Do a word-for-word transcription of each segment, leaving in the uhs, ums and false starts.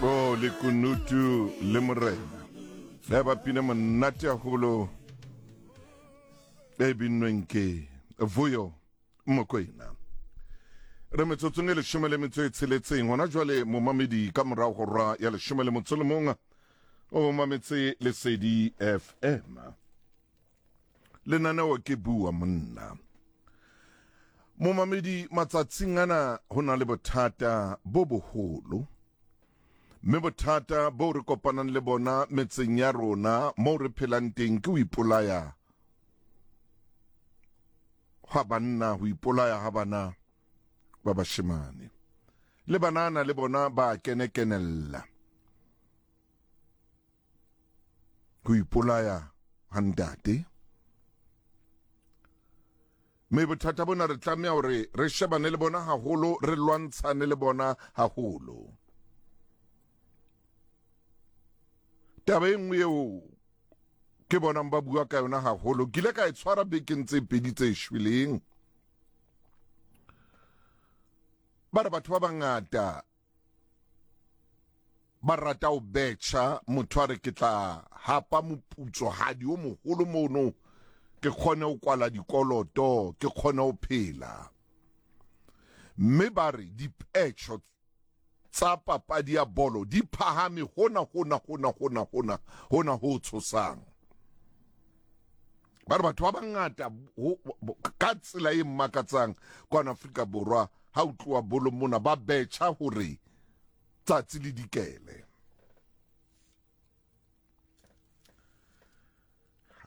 Oh, lekunutu le morena le ba pina monate haholo e binnweng ke Vuyo Mokwena. Re metsotsong e leshome le metso e tsheletseng hona jwale, momamedi, ka morao ho hora ya leshome le motso le mong. O mametse Lesedi F M, lenaneo ke Bua Monna. Momamedi, matsatsing ana ho na le bothata bo boholo, mme bothata bo re kopanang le bona metseng ya rona moo re phelang teng ke ho ipolaya ha banna, ho ipolaya ha bana ba bashemane le banana le bona ba kenekenella ho ipolaya ha ntate. Mme bothata bona re tlameha hore re shebane le bona haholo, re lwantshane le bona haholo. Taba e nngwe eo ke bonang ba bua ka yona haholo, ke ile ka e tshwara bekeng tse pedi tse shweleng, ba re batho ba bangata ba rata ho betjha. Motho a re, "Ke tla hapa moputsohadi o moholo mono, ke kgone ho kwala dikoloto, ke kgone ho phela." Mme ba re dipetjho tsa papadi ya bolo di phahame hona hona hona hona hona hona ho tshosang. Ba re batho ba bangata ka tsela e mmakatsang kwana Afrika Borwa, ha o tloha bolong mona, ba betjha hore tsatsi le dikele.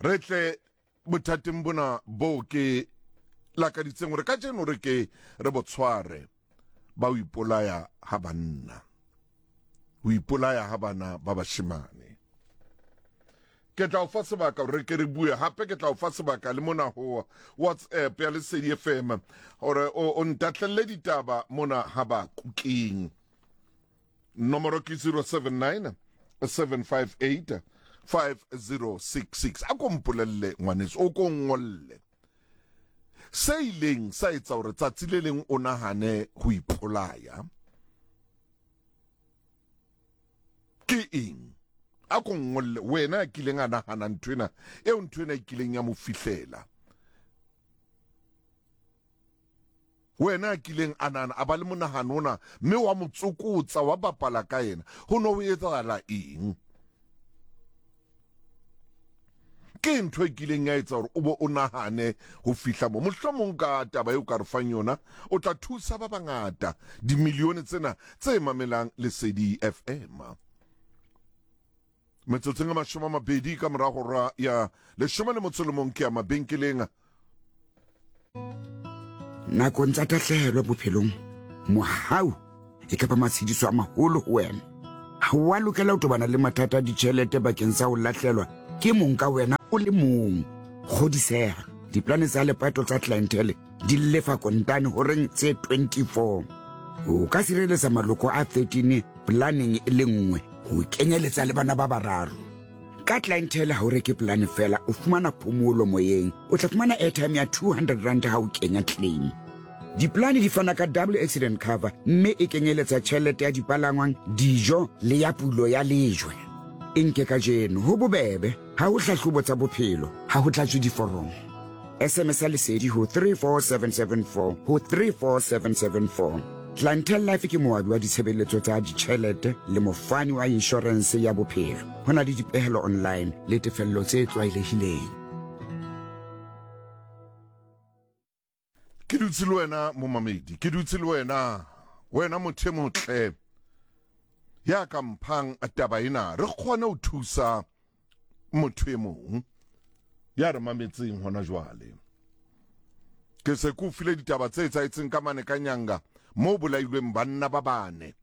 Re tle bothateng bona bo ke lakaditseng hore kajeno re ke re bo tshware, ba ho ipolaya ha banna, ho ipolaya ha bana ba bashemane. Ke tla o fa sebaka hore ke re bue hape. Ke tla o fa sebaka le mona ho WhatsApp ya Lesedi F M hore o ntatlelle ditaba mona ha ba kukeng. Nomoro ke zero seven nine seven five eight five zero six six. A ko mpolelle, ngwaneso, o ko ngolle se ileng sa etsa hore tsatsi le leng o nahane ho ipolaya ke eng. A ko ngolle wena a kileng a nahana nthwena eo, nthwena e kileng ya mo fihlela, wena a kileng a nahana, a ba le monahano ona, mme wa mo tsokotsa, wa bapala ka yena. Ho no ho etsahala eng? Ke ntho e kileng ya etsa hore o bo o nahane ho fihla mo? Mohlomong ka taba eo ka re fang yona, o tla thusa ba bangata, dimilione tsena tse mamelang Lesedi F M. Metsotsong a mashome a mabedi ka mora hora ya leshome le motso le mong, ke ya mabenkeleng. Nakong tsa tahlehelo bophelong, mohau e ka ba matshediso a maholo ho wena. Ha wa lokela ho tobana le mathata a ditjhelete bakeng sa ho lahlelwa ke mong ka wena o le mong. Kgodiseha, diplane tsa lepato tsa Clientele di lefa kontane horeng tse twenty-four. O ka sireletsa maloko a thirteen planeng e le nngwe, ho kenyeletsa le bana ba bararo. Ka Clientele ha o reke polane fela, o fumana phomolo moyeng. O tla fumana airtime ya two hundred rand ha o kenya claim. Diplane di fana ka double accident cover, mme e kenyeletsa tjhelete ya dipalangwang, dijo le ya pulo ya lejwe. E nke kajeno, ho bobebe, ha ho hlahlobo tsa bophelo, ha ho tlatswe diforomo. S M S ya Lesedi ho three four seven seven four ho three four seven seven four. Clientele Life ke moabi wa ditshebeletso tsa ditjhelete le mofani wa inshorense ya bophelo. Ho na le dipehelo online le tefello tse tlwaelehileng. Ke dutse le wena, momamedi, ke dutse le wena, wena motho e motle ya ka mphang taba ena, re kgone ho thusa motho e mong ya re mametseng hona jwale. Ke se ke o file ditaba tse etsahetseng ka mane ka Nyanga, moo bolailweng banna ba bane,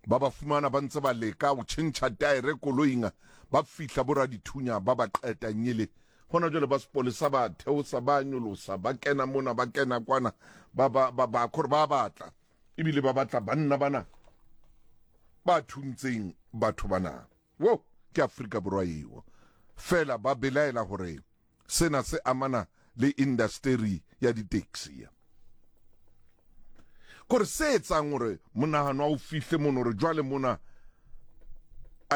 ba ba fumana ba ntse ba leka ho tjhentjha taere koloing, ba fihla boradithunya ba ba qeta nyele. Hona jwale ba sepolesa ba theosa, ba nyolosa, ba kena mona, ba kena kwana, ba ba ba ba kore ba batla, ebile ba batla banna bana ba thuntseng batho bana. Wo ke Afrika Borwa eo. Fela ba belaela hore sena se amana le industry ya di-taxi, kore se etsang hore monahano wa o fihle mono, hore jwale mona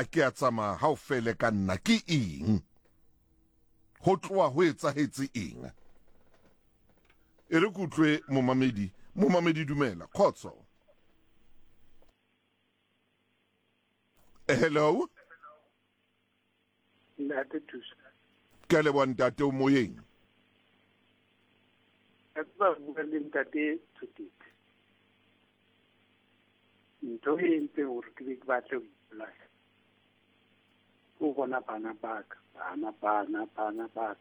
a ke a tsamaya ha o fele ka nna ke eng? Ho tloha ho etsahetse eng? E re ke utlwe momamedi. Momamedi dumela. Kgotso. Hello. Ntate Thuso. Ke a leboha ntate, o moyeng. Ka tseba bua le ntate Thotetse. Ntho e entseng hore ke be ke batle ho ipolaya ke ho bona bana ba ka, bana, bana, bana ba ka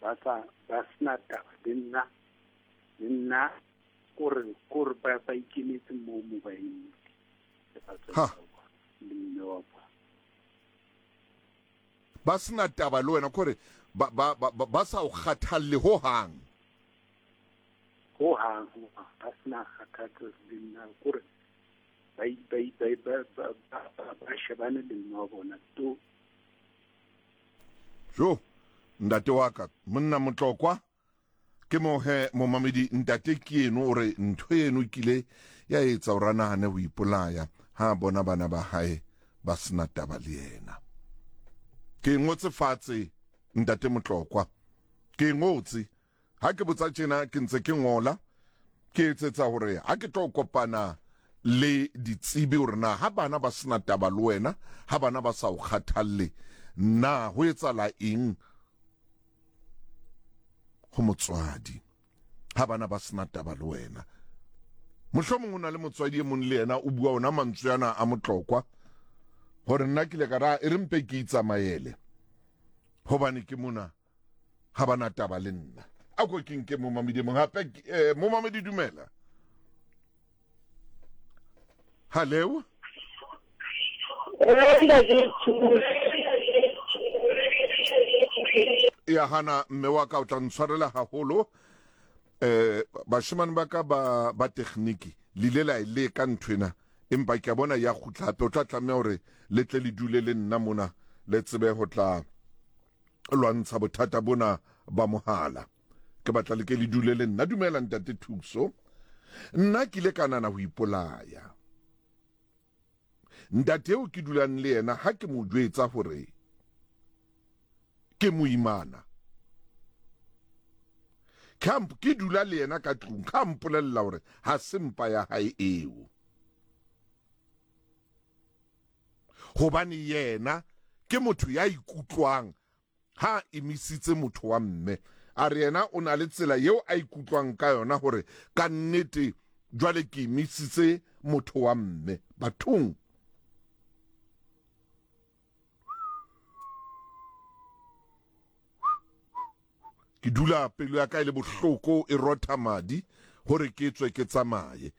ba sa, ba sena taba le nna, le nna kore, kore ba, ba ikemetse moo mo ba emeng le batswadi Ha. ba bona, le mme wa bona. Ba sena taba le wena, kore ba, ba, ba, ba, ba sa o kgathalle ho hang. Ho hang, ho hang, ba sena kgathatso le nna, kore ba i-, ba i-, ba i-, ba, ba, ba, ba, ba shebane le mme wa bona to. Jo, ntate wa ka, monna Motlokwa, ke mo he momamedi ntate ke eno o re ntho eno e kile ya etsa hore a nahane ho ipolaya ha bona bana ba hae ba sena taba le yena. Ke ngotse fatshe ntate Motlokwa, ke ngotse ha ke botsa tjena ke ntse ke ngola, ke etsetsa hore ha ke tlo kopana le ditsebi hore na ha bana ba sena taba le wena, ha bana ba sa o kgathalle, na ho etsahala eng ho motswadi ha bana ba sena taba le wena? Mohlomong o na le motswadi e mong le yena o bua ona mantswe ana a Motlokwa hore nna ke ile ka ra e re mpe ke itsamaele hobane ke mona ha bana taba le nna. A ko ke nke momamedi mong hape, eh, momamedi dumela. Hello. Ya hana mme wa ka o tla ntshwarela haholo. Eh, bashemane ba ka ba, ba tekgniki le ile la e leka nthwena, empa ke a bona ya kgutla hape. O tla tlameha hore le tle le dule le nna mona le tsebe ho tla lwantsha bothata bona ba mohala. Ke batla le ke le dule le nna. Dumela ntate Thuso. Nna ke ile ka nahana ho ipolaya. Ntate eo ke dulang le yena ha ke mo jwetsa hore ke moimana, Camp ke dula le yena ka tlung, ka mpolella hore ha se mpa ya hae eo, hobane yena ke motho ya ikutlwang ha emisitse motho wa mme. A re yena o na le tsela eo a ikutlwang ka yona hore ka nnete jwale ke emisitse motho wa mme. Bathong, ke dula pelo ya ka e le bohloko e rotha madi hore ke tswe ke tsamaye.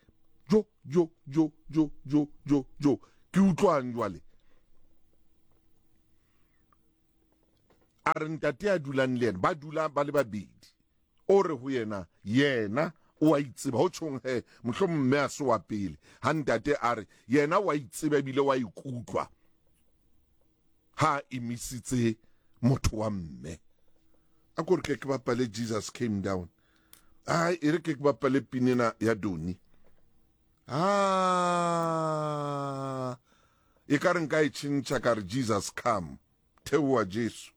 Jo, jo, jo, jo, jo, jo, jo. Ke utlwang jwale? A re ntate a dulang le yena, ba dula ba le babedi. O re ho yena, yena o a itseba. Ho tjhong he, mohlomong mme a se wa pele. Ha ntate a re, yena o a itseba ebile o a ikutlwa ha emisitse motho wa mme. A ko re ke ke bapale Jesus Came Down. Ai, e re ke ke bapale pinena ya Doni. Ah, e ka re nka e tjhentjha ka re Jesus Come. Theoha Jesu.